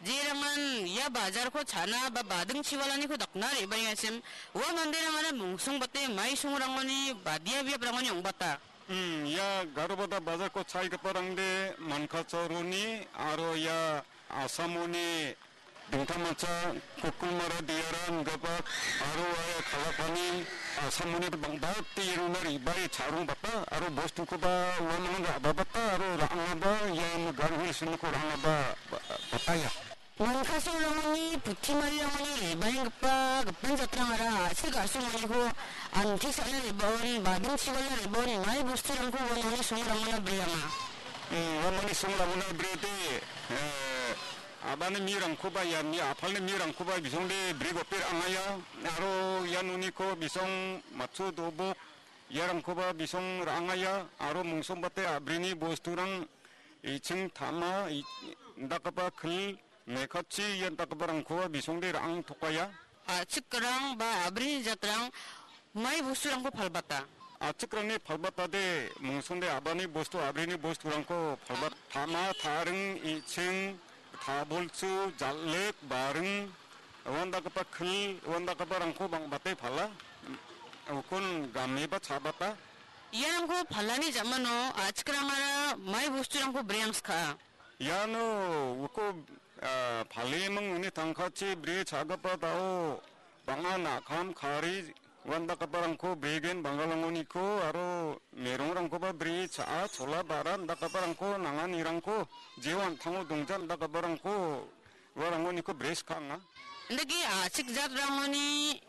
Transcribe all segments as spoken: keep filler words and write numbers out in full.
Jerangan ia bajarko cha·na ba bading chiwalaniko dakna re·baengachim, ua manderangara mungsongbate mai songrangoni badia biaprangoni ong·bata. Hmm, ia Garobada bajarko cha·giparangde Mankacharoni aro ia Asamoni dingtangmancha Kukulmara Diara ingipa aro ia Kalapani Asamoni bang·bate iarona re·bae cha·rongbata aro bostukoba uamang ra·babata aro ra·angaba ian Garo Hills-oniko ra·angaba ba-, bataia. Mankacharoni Putimariyangoni re·baenggipa gipin jatrangara a·chik a·songoniko anti sa·na re·baon, bading chiwala re·baon, mai bosturangko uamangni songrangona breanga. Hmm, uamangni songrangona brede, eh, a·bani mirangkoba ian mi a·palni mirangkoba bisongde bri gope ra·angaia, aro ian uniko bisong matchu dobok iarangkoba bisong ra·angaia, aro mungsongbate a·brini bosturang iching tama, i-, indakgipa kil, mekatchi ian dakgiparangkoba bisongde ra·angtokaia. A·chikrang ba a·brini jatrang mai bosturangko palbata. A·chikrangni palbatade mungsongde a·bani bostu, a·brini bosturangko palbat-, tama, taring, iching, tabolchu, jal·ek, baring, uandakgipa kil, uandakgiparangko bang·bate pala. Ukon gameba cha·bata. Iarangko palani ja·mano a·chikrangara mai bosturangko breangska. Iano uko, ah, paleming uni tangkachi bri cha·gipa dao bang·a nakam kari uandakgiparangko bregen Banggalangoniko aro merongrangkoba bri cha·a, chola ba·ra indakgiparangko nanganirangko jeo an·tango dongja indakgiparangko uarangoniko bri skanga. Indake a·chik jatrangoni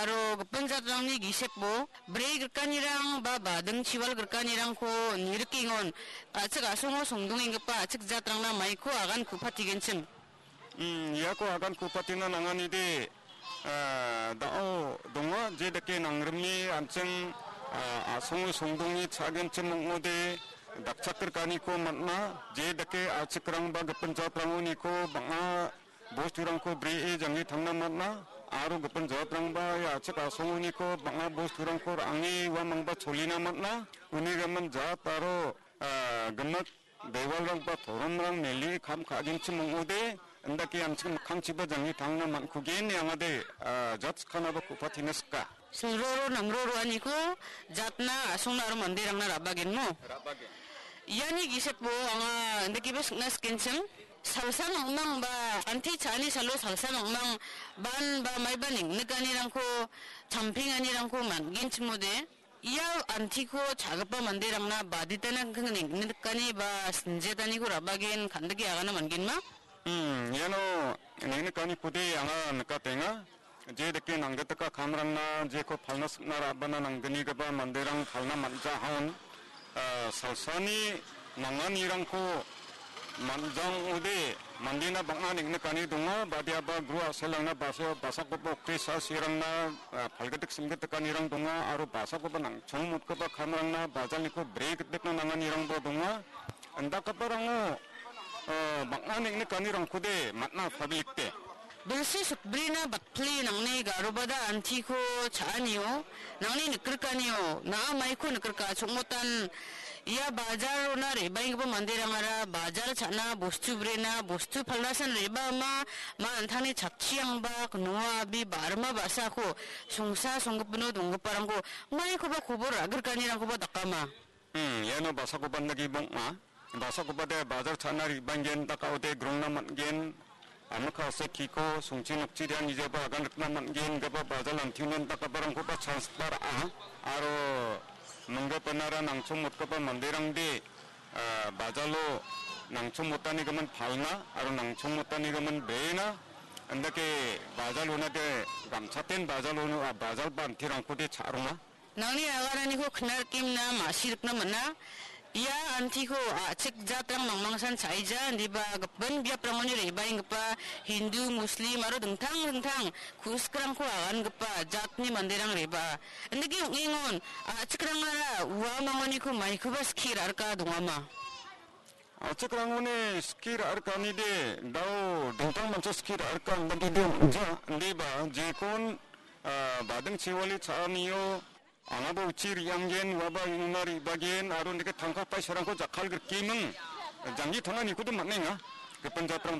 aro gipin jatrangni giseko bri grikanirang ba bading chiwal grikanirangko nirikengon a·chik a·songo songdongenggipa a·chik jatrangna maiko agan ku·patigenchim. Hmm, iako agan ku·patina nanganide, ah, da·o donga, jedake nangrime an·ching, ah, a·songo songdonge cha·genchim ong·ode, dakchakgrikaniko man·a, jedake a·chikrangba gipin jatrangoniko bang·a bosturangko bri·e jange tangna man·a, aro gipin jatranba ia a·chik a·songoniko bang·a bosturangko ra·ange uamangba cholina man·a, unigimin jat aro, ah, gimik dewalrangba toromrang mele kam ka·genchim ong·ode, indake an·ching mikkangchiba jange tangna man·kugen ine angade, ah, jat sikanaba ku·patina sika. Silroro namroroaniko jatna a·songna aro manderangna ra·bagenmo. Ra·bagen. Iani giseko anga indakeba sikna sikenchim. Salsa mangmang ba anti cha·ani salo salsa mangmang ban ba maiba neng·nikanirangko champenganirangko man·genchimode. Ia antiko cha·gipa manderangna baditana neng·nikani ba sinjetaniko ra·bagen kan·dike agana man·genma? Hmm, iano neng·nikaniko de anga nikatenga. Jedake nanggitika kamrangna jeko palna sikna ra·bana nangganigipa manderang palna man·jahaon. Ah, salsani nanganirangko man·jang ode mandena bang·a neng·nikani donga, badiaba gru a·selrangna basa-, basakoba okri sa-, sirangna, ah, palgitik simgitikanirang donga, aro basakoba nangchongmotgipa kamrangna bajalniko bregitbetna nanganirangba donga. Indakgiparango, ah, bang·a neng·nikanirangkode man·a public-de. Bilsi sukbrina batpli nangni garobada antiko cha·anio, nangni nikrikanio, na·a maiko nikrika chongmotan ia bajarona re·baenggipa manderangara bajar cha·na, bostu brena, bostu palnasan re·baa ma, ma an·tangni chatchiangba, noa abi, barima ba·sako songsa songgipino donggiparangko maikoba kobor ra·grikanirangkoba dakama. Hmm, iano basakoba indake bong·a. Basakobade bajar cha·na re·baengen, dakaode grongna man·gen. Amokase kiko songchi nokchi de anijaba agan rikna man·gen, gaba bajal antinen dakabarangkoba chance ba ra·a. Aro minggapanara nangchongmotgipa manderangde, ah, bajalo nangchongmotanigimin palna aro nangchongmotanigimin brena. Indake bajal onade gamchaten bajal ono, ah, bajal ba antirangkode cha·ronga. Nangni agananiko knar kimna ma·sirikna man·a. Ia antiko a·chik jatrang mangmangsan cha·ija, indiba gipin biaprangoni re·baenggipa Hindu, Muslim aro dingtang dingtang ku·sikrangko agangipa jatni manderang re·baa. Indake ong·engon a·chikrangara uamangoniko maikoba skie ra·rika dongama. A·chikrangoni skie ra·rikanide dao dingtang mancha skie ra·rika indakede ong·ja, indiba jekon, ah, bading chiwali cha·anio angaba uchi re·anggen, uaba ing·ona re·bagen, aro indake tangka paisarangko jakkalgrikeming, janggi tanganikodo man·enga. Gipin jatrang